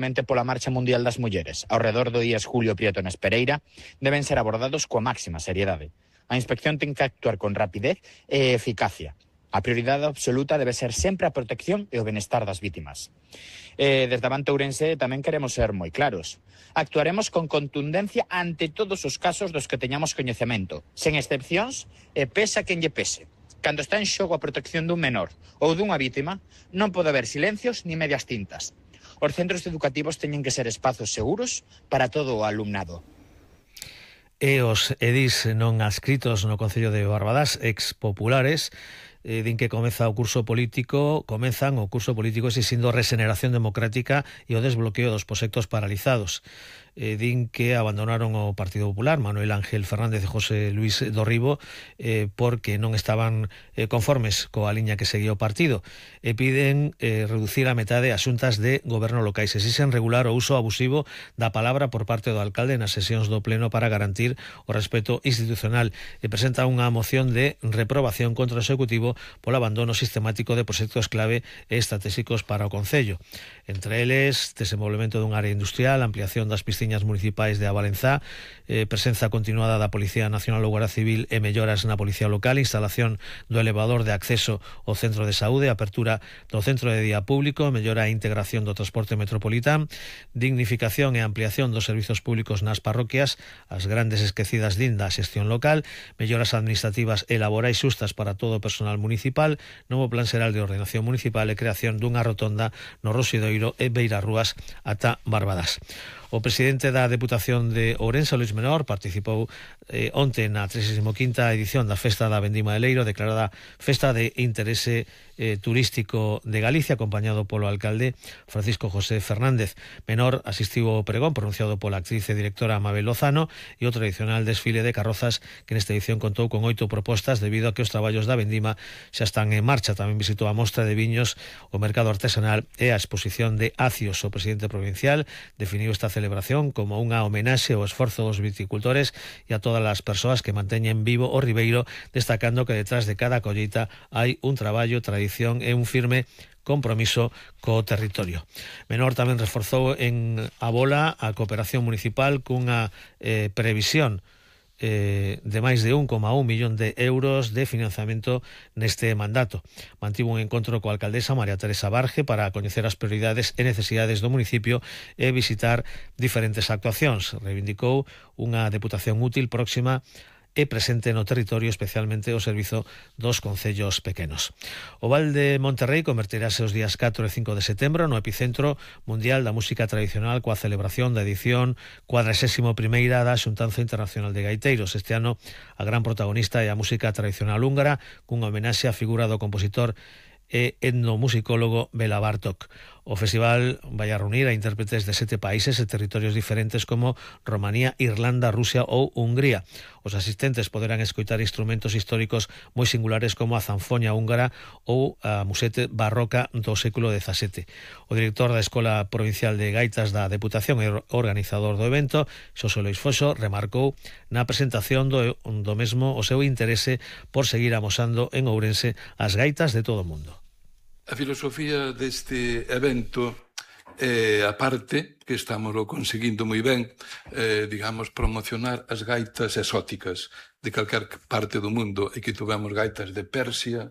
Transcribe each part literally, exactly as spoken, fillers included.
mente pola Marcha Mundial das Mulleres, ao redor do Días Julio Prieto na Espereira, deben ser abordados coa máxima seriedade. A inspección ten que actuar con rapidez e eficacia. A prioridade absoluta debe ser sempre a protección e o benestar das vítimas. E desde Avante Ourense tamén queremos ser moi claros. Actuaremos con contundencia ante todos os casos dos que teñamos coñecemento, sen excepcións e pese a quen lle pese. Cando está en xogo a protección dun menor ou dunha vítima, non pode haber silencios ni medias tintas. Os centros educativos teñen que ser espazos seguros para todo o alumnado. E os edís non adscritos no Concello de Barbadás, expopulares, eh, din que comeza o curso político, comezan o curso político exixindo regeneración democrática e o desbloqueo dos proxectos paralizados. Eh, din que abandonaron o Partido Popular, Manuel Ángel Fernández e José Luis Dorribo, eh, porque non estaban eh, conformes coa liña que seguía o partido, e piden eh, reducir a metade as xuntas de goberno locais. Exixen regular o uso abusivo da palabra por parte do alcalde nas sesións do Pleno para garantir o respeto institucional, e presenta unha moción de reprobación contra o Executivo polo abandono sistemático de proxectos clave e estratégicos para o Concello. Entre eles, desenvolvemento dun área industrial, ampliación das piscinas municipais de Avalenzá, eh, presenza continuada da Policía Nacional ou Guardia Civil e melloras na Policía Local, instalación do elevador de acceso ao centro de saúde, apertura do centro de día público, mellora e integración do transporte metropolitán, dignificación e ampliación dos servizos públicos nas parroquias, as grandes esquecidas din da xestión local, melloras administrativas e laborais xustas para todo o personal municipal, novo plan xeral de ordenación municipal e creación dunha rotonda no Roxidoiro e Beirarrúas ata Barbadás. O presidente da Deputación de Ourense, Luís Menor, participou eh, onte na trescienta quinta edición da Festa da Vendima de Leiro, declarada Festa de Interese eh, Turístico de Galicia, acompañado polo alcalde Francisco José Fernández. Menor asistiu ao pregón pronunciado pola actriz e directora Mabel Lozano e o tradicional desfile de carrozas que nesta edición contou con oito propostas debido a que os traballos da vendima xa están en marcha. Tamén visitou a mostra de viños, o mercado artesanal e a exposición de acios. O presidente provincial definiu esta celebración como unha homenaxe ao esforzo dos viticultores e a todas as persoas que manteñen vivo o ribeiro, destacando que detrás de cada colleita hai un traballo, tradición e un firme compromiso co territorio. Menor tamén reforzou en a bola a cooperación municipal cunha eh, previsión Eh, de máis de un coma un millón de euros de financiamento neste mandato. Mantivo un encontro coa alcaldesa María Teresa Barge para coñecer as prioridades e necesidades do municipio e visitar diferentes actuacións. Reivindicou unha deputación útil, próxima e presente no territorio, especialmente o servizo dos concellos pequenos. O Val de Monterrei converterase os días catro e cinco de setembro no epicentro mundial da música tradicional coa celebración da edición cuadragésima primeira da Xuntanza Internacional de Gaiteiros. Este ano a gran protagonista é a música tradicional húngara, cunha homenaxe á figura do compositor e etnomusicólogo Bela Bartók. O festival vai a reunir a intérpretes de sete países e territorios diferentes como Romanía, Irlanda, Rusia ou Hungría. Os asistentes poderán escoitar instrumentos históricos moi singulares como a zanfoña húngara ou a musete barroca do século dezasete. O director da Escola Provincial de Gaitas da Deputación e organizador do evento, Xosé Lois Foxo, remarcou na presentación do, do mesmo o seu interese por seguir amosando en Ourense as gaitas de todo o mundo. A filosofía deste evento é a parte que estamos o conseguindo moi ben, eh, digamos, promocionar as gaitas exóticas de calquer parte do mundo, e que tuvemos gaitas de Persia,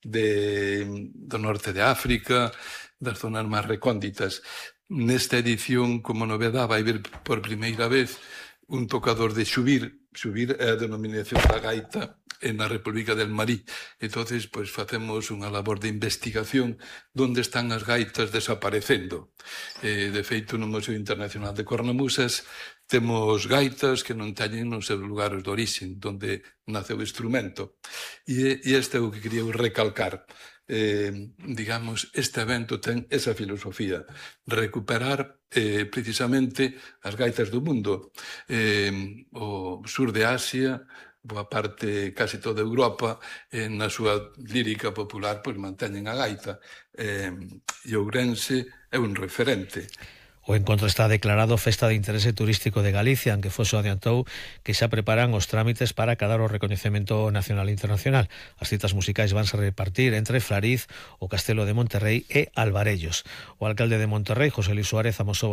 de, do norte de África, das zonas máis recónditas. Nesta edición, como novedade, vai ver por primeira vez un tocador de xubir. Xubir é a denominación da gaita na República del Marí. Entonces, pues, facemos unha labor de investigación donde están as gaitas desaparecendo. Eh, de feito, no Museo Internacional de Cornamusas temos gaitas que non teñen nos seus lugares de orixen, donde nace o instrumento. E, e este é o que quería recalcar. Eh, digamos, este evento ten esa filosofía, recuperar eh, precisamente as gaitas do mundo. Eh, o sur de Asia, boa parte, casi toda Europa, eh, na súa lírica popular, pois manteñen a gaita. Eh, e Ourense é un referente. O encontro está declarado Festa de Interese Turístico de Galicia, aunque Foxo adiantou que xa preparan os trámites para acadar o recoñecemento nacional e internacional. As citas musicais vanse repartir entre Flariz, o Castelo de Monterrei e Alvarellos. O alcalde de Monterrei, José Luis Suárez, amosou